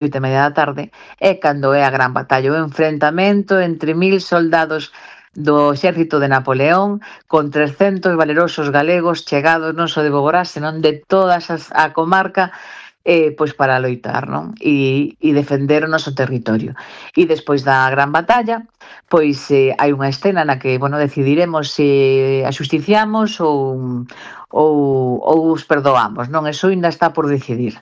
8:30 da tarde, é cando é a gran batalla, o enfrentamento entre 1000 soldados do exército de Napoleón con 300 valerosos galegos chegados non só de Boborás, senón de todas a comarca, pois para loitar, non? E defender o noso territorio. E despois da gran batalla, pois hai unha escena na que, bueno, decidiremos se axusticiamos ou os perdoamos, non? Eso ainda está por decidir.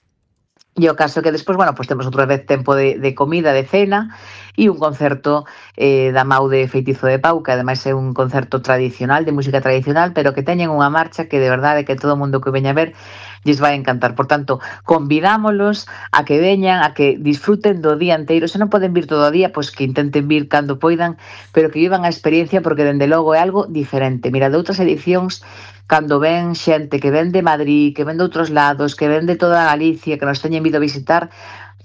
E o caso que despois, bueno, pois temos outra vez tempo de comida, de cena e un concerto da Mau de Feitizo de Pau, que ademais é un concerto tradicional, de música tradicional, pero que teñen unha marcha que de verdade que todo o mundo que veña a ver lles vai encantar. Por tanto, convidámolos a que veñan, a que disfruten do día inteiro. Se non poden vir todo o día, pois que intenten vir cando poidan, pero que vivan a experiencia porque dende logo é algo diferente. Mira, de outras edicións, cando ven xente que ven de Madrid, que ven de outros lados, que ven de toda Galicia, que nos teñen vido a visitar,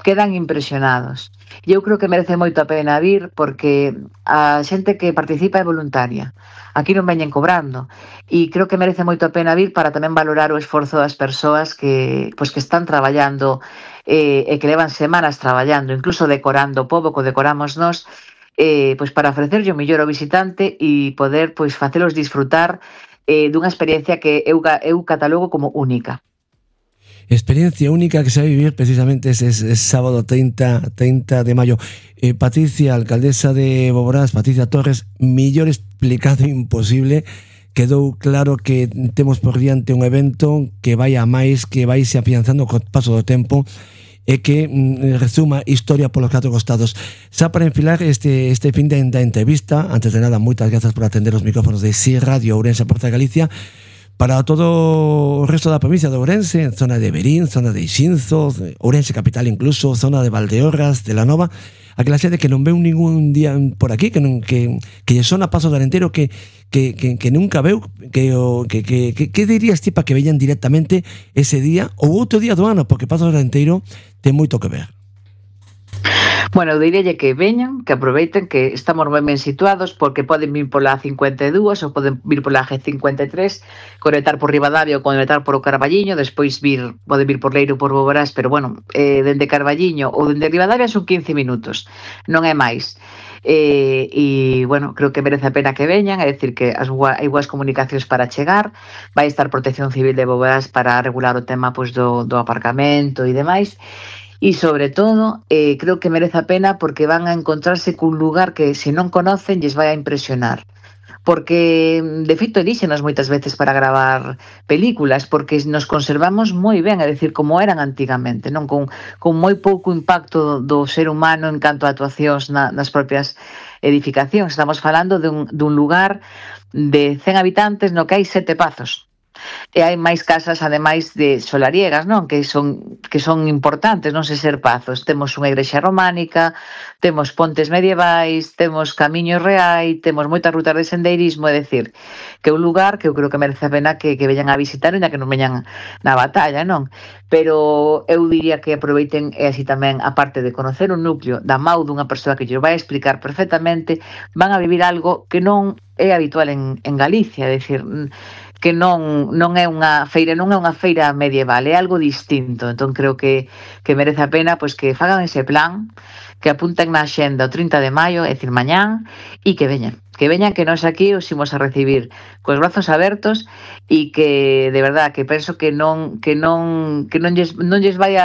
quedan impresionados. E eu creo que merece moito a pena vir porque a xente que participa é voluntaria. Aquí non veñen cobrando. E creo que merece moito a pena vir para tamén valorar o esforzo das persoas que están traballando e que levan semanas traballando, incluso decorando o pobo, que decoramos nós, pois para ofrecerlle o mellor ao visitante e poder pois facelos disfrutar dunha experiencia que eu catalogo como única. Experiencia única que se vai vivir precisamente ese sábado 30 de maio. Patricia, alcaldesa de Boborás, Patricia Torres, mellor explicado imposible. Quedou claro que temos por diante un evento que vai a máis, que vai se afianzando co paso do tempo e que resuma historia polos 4 costados. Xa para enfilar este fin da entrevista, antes de nada, moitas grazas por atender os micrófonos de SIR Radio Ourense, Porta de Galicia. Para todo o resto da provincia de Ourense, zona de Verín, zona de Ixinzo, Ourense capital incluso, zona de Valdeorras, de la Nova, aquela xente que non veu ningún día por aquí, que lle sona Paso de Arenteiro, que nunca veu, que dirías ti para que veñan directamente ese día ou outro día do ano, porque Paso de Arenteiro ten moito que ver. Bueno, eu diríalle que veñan, que aproveiten, que estamos moi ben situados, porque poden vir pola 52 ou poden vir pola G53, conectar por Ribadavia ou conectar por o Carballiño, despois poden vir por Leiro ou por Boborás, pero bueno, dende Carballiño ou dende Ribadavia son 15 minutos, non é máis. E, bueno, creo que merece a pena que veñan, é dicir que hai boas comunicacións para chegar, vai estar Protección Civil de Boborás para regular o tema pois do aparcamento e demais. E, sobre todo, creo que merece a pena porque van a encontrarse cun lugar que, se non conocen, lles vai a impresionar. Porque, de feito, elíxenos moitas veces para gravar películas, porque nos conservamos moi ben, é dicir, como eran antigamente, non con moi pouco impacto do ser humano en canto a actuacións nas propias edificacións. Estamos falando dun lugar de 100 habitantes no que hai 7 pazos. E hai máis casas, ademais de solariegas, non? Que son importantes, non se ser pazos. Temos unha igrexa románica, temos pontes medievais, temos camiños reais, temos moitas rutas de sendeirismo, é dicir, que é un lugar que eu creo que merece a pena que veñan a visitar, ainda que non veñan na batalla, non? Pero eu diría que aproveiten e así tamén, aparte de conocer un núcleo da Mau dunha persoa que lles vai explicar perfectamente, van a vivir algo que non é habitual en Galicia, é dicir, que non é unha feira medieval, é algo distinto. Entón creo que merece a pena pois que fagan ese plan, que apunten na axenda o 30 de maio, é dicir, mañán, e que veñan, que nós aquí os imos a recibir cos brazos abertos e que, de verdad, que penso que non lles vai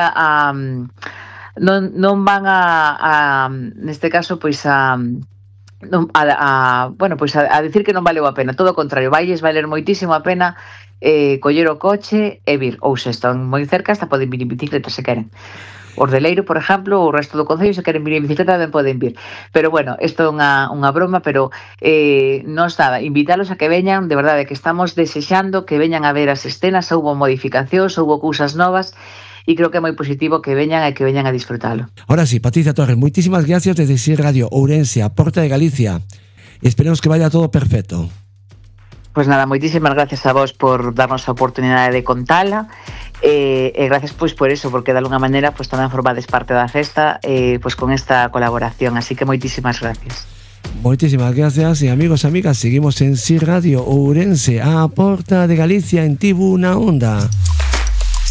non van a neste caso, pois a decir que non valeu a pena, todo o contrario, vailles valer moitísimo a pena coller o coche e vir, ou se están moi cerca hasta poden vir en bicicleta se queren. Os de Leiro, por exemplo, ou o resto do concello, se queren vir en bicicleta tamén poden vir. Pero bueno, isto é unha broma, pero non nada, invítalos a que veñan, de verdade que estamos desexando que veñan a ver as escenas, houbo modificacións, houbo cousas novas, e creo que é moi positivo que veñan e que veñan a disfrutalo. Ahora sí, Patricia Torres, moitísimas gracias desde SIR Radio Ourense, a Porta de Galicia. Esperemos que vaya todo perfecto. Pois nada, moitísimas gracias a vos por darnos a oportunidade de contala e gracias pois por eso, porque de alguna maneira pois tamén formades parte da festa pois con esta colaboración, así que moitísimas gracias. Moitísimas gracias e amigos e amigas, seguimos en SIR Radio Ourense, a Porta de Galicia en Tibu na Onda.